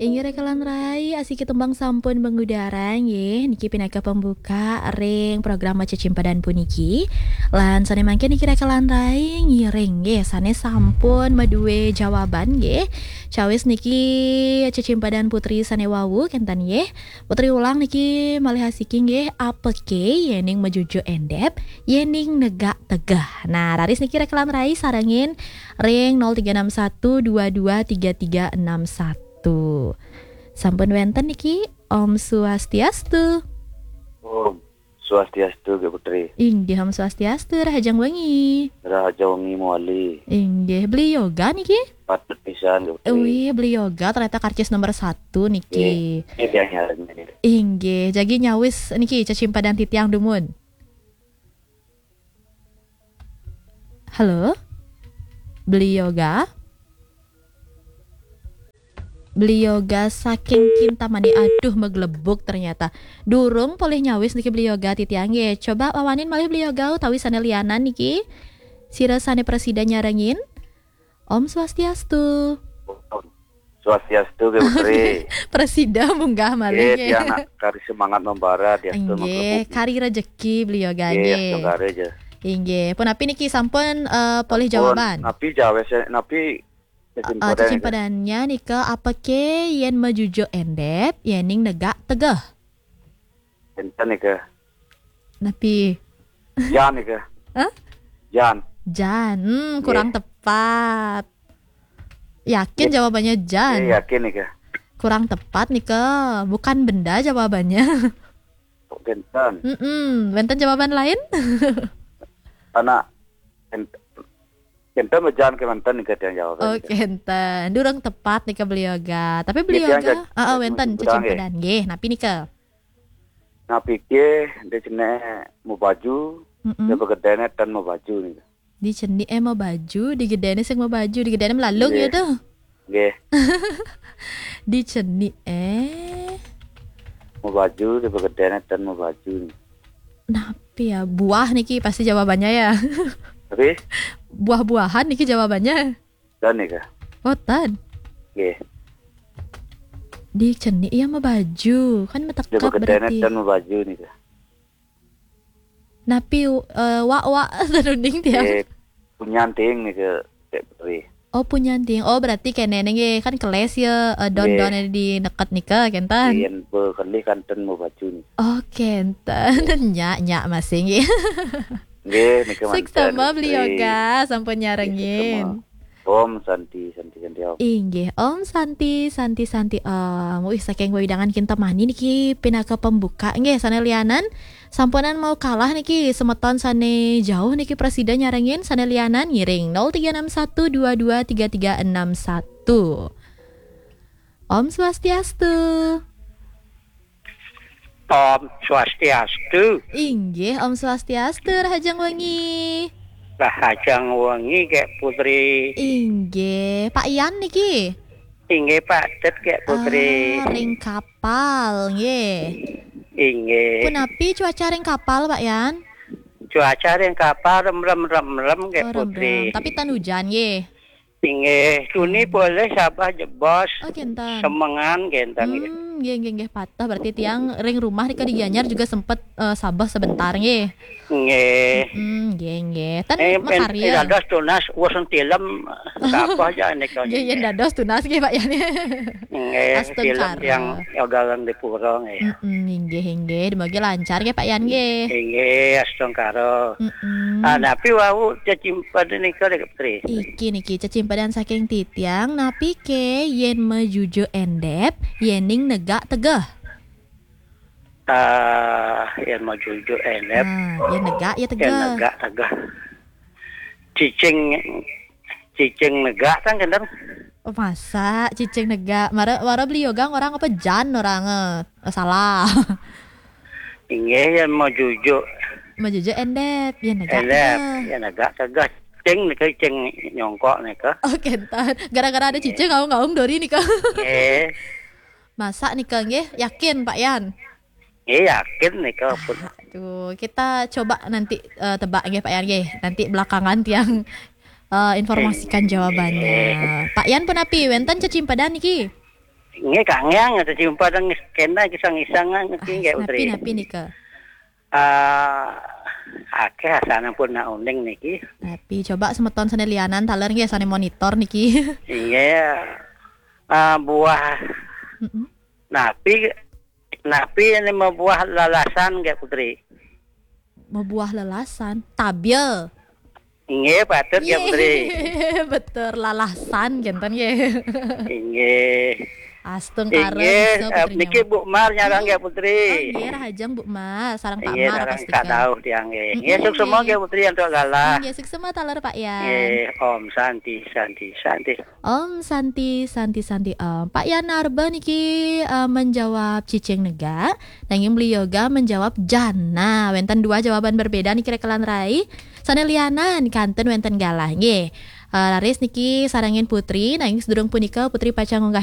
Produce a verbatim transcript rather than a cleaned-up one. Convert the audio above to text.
Inggih raka lan rai, asiki tembang sampun mengudara nggih. Niki pinaka pembuka ring program Cecimpadan puniki. Lan sane mangkin niki raka lan rai ngiring nggih, sane sampun madue jawaban nggih. Cawis niki Cecimpadan Putri sane wau kenten nggih. Putri Ulang niki malih asiki nggih, apake yening majujuk endep, yening negak tegeh. Nah, raris niki raka lan rai sarengin ring nol tiga enam satu dua dua tiga tiga enam satu. Sampun wenten niki, Om Swastiastu. Om Swastiastu, Gek Putri. Inggih, Om Swastiastu, rahajeng wengi. Rahajeng wengi mawali. Inggih, Beli Yoga niki? Patut pisan, Gek Putri. Wih, Beli Yoga ternyata karcis nomor satu niki. Nggih, nggih, tiang nyarengin. Inggih, jagi nyawis niki cecimpadan titiang dumun. Halo? Beli Yoga? Beli Yoga saking Kintamani, aduh, maglebug ternyata. Durung polih nyawis niki Beli Yoga titiang nggih. Coba wawanin malih Beli Yoga utawi sane lianan niki. Sira sane prasida nyarengin. Om Swastiastu. Swastiastu, Gek Putri. Prasida munggah malih nggih, nggih. Tiang nak kari semangat membara, diastu nggih, menggelubuki. Kari rejeki Beli Yoga nggih, nggih. Astu kari aja. Inggih. Punapi niki sampun, eh, polih jawaban? Napi jawab, napi cecimpadan? Eh, cecimpadannya nika, apake yen majujuk endep, yening negak tegeh? Enten nika. Napi? Jan nika. Hah? Jan. Jan. Hmm, kurang tepat. Yakin jawabannya jan? Nggih, yakin nika. Kurang tepat nika. Bukan benda jawabannya. Kok kenten? Mm-mm. Wenten jawaban lain? Anak ent-, kenten bejan kemanten nika tiang jawaban. Oh, nika. Kenten. Durung tepat nika Beli Yoga. Tapi Beli Yoga, heeh, wenten cecimpadan nggih. Napi nika? Napike, di cenik mabaju, mm-mm, di begedene ten mabaju nika. Di cenike mabaju, di gedene sing mabaju, di gedene melalung nggih, ya tuh. Nggih. Di cenike mabaju, di begedene ten mabaju nika. Napi ya? Buah niki pasti jawabannya ya. Tapi? Buah-buahan niki jawabannya. Ten nika. Oh, ten. Nggih. Di cenik ya mabaju, kan metekap berarti. Di begedene ten mabaju nika. Napi, eh, wak-wak tenunding tiang? Eh, punyanting nika, Gek Putri. Oh, punyanting. Oh, berarti kene nggih, kan keles ya, eh, don-don di neket nika, kenten. Nggih. Yen bekelih kan ten mabaju nika. Oh, kenten. Nyak, nyak masih nggih. Nggih, nika manten, Beli Yoga, sampun nyarengin. Nggih, suksma. Om Santi, Santi, Santi, Om. Inggih, Om Santi, Santi, Santi, Om. Wih, saking wewidangan Kintamani niki pinaka pembuka. Nggih, sane lianan sampunan mau kalah niki, semeton sane jauh niki prasida nyarengin, sane lianan ngiring nol tiga enam satu dua dua tiga tiga enam satu. Om Swastiastu. Om Swastiastu. Inggih, Om Swastiastu, rahajeng wengi. Rahajeng wengi, Gek Putri. Inggih, Pak Yan niki? Inggih, Pak Tet, Gek Putri. Ah, ring kapal, nggih. Inggih. Punapi cuaca ring kapal, Pak Yan? Cuaca ring kapal remrem-remrem, Gek Putri. Oh, remrem. Tapi ten hujan, nggih. Inggih, tuni polih Sabah jebos. Oh, kenten. Semengan kenten, nggih. Hmm, nggih, nggih, nggih, patuh. Berarti tiang ring rumah nika di Gianyar juga sempet, eh, sabeh sebentar, nggih. Nggih. Hmm, nggih, nggih. Ten makarya. Eh, dados tunas, wus tilem, sabeh aja nika. Nggih, yen dados tunas, nggih, Pak Yan. Nggih, astungkara. Tilem tiang ogalan di pura, nggih. Mm-mm, inggih, inggih. Dumugi lancar, nggih, Pak Yan, nggih. Inggih, astungkara. Mm-mm. Ah, napi wau cecimpadan nika, Dek Putri? Iki niki cecimpadan saking titiang, napike yen majujuk endep, yening negak tegeh? Ah, yen majujuk endep. Nah, yen negak ya tegeh. Yen negak tegeh. Cicing, cicing negak kan kenten? Oh, masa cicing negak? Mara, mara Beli Yoga orang apa jan orang, eh, salah. Inggih, yen majujuk. Majujuk endep, yen negak endep, tegeh. Yen negak tegeh. Cicing nika, cicing nyongkok nika. Oh, kenten. Gara-gara ada cicing, ngaung-ngaung dori nika. Nggih. Masa nika nggih? Yakin, Pak Yan? Nggih, yakin nika pun. Aduh, kita coba nanti, eh, tebak nggih, Pak Yan nggih. Nanti belakangan tiang, eh, informasikan jawabannya. Nggih. Pak Yan punapi, wenten cecimpadan niki? Nggih, kangen ya jumpa teng kena kisang-kisang niki, nggih, Putri. Napi-napi nika? Ah, akeh asane pun nak uning niki. Napi, coba semeton sane lianan taler nggih, sane monitor niki. Inggih. Ah, buah Mm-mm. napi, napi ini buah lalasan, nggih, Putri. Mabuah lalasan, tabil. Inggih, patut, nggih, Putri. Betul, lalasan kenten nggih. Inggih. Astungkara Inggih, bisa, eh, Putri niki Nyawa. Bu Mar nyarang, nggih, Oh, Putri. nggih, rahajeng Bu Mar, sareng Pak Inggih, Mar sareng pasti kadauh tiang, nggih. Nggih, Mm-mm, suksema, nggih. Nggih, Putri, antuk galah. Nggih, suksema taler Pak Yan. Nggih, Om Santi, Santi, Santi. Om Santi, Santi, Santi Om. Pak Yan Arba niki eh, menjawab cicing negak, nanging beliau ga menjawab jana. Wenten dua jawaban berbeda niki rekelan rai. Sane lianan kanten wenten galah nggih. Eh, raris niki sarengin Putri, nanging sedurung punika Putri pacang ngunggah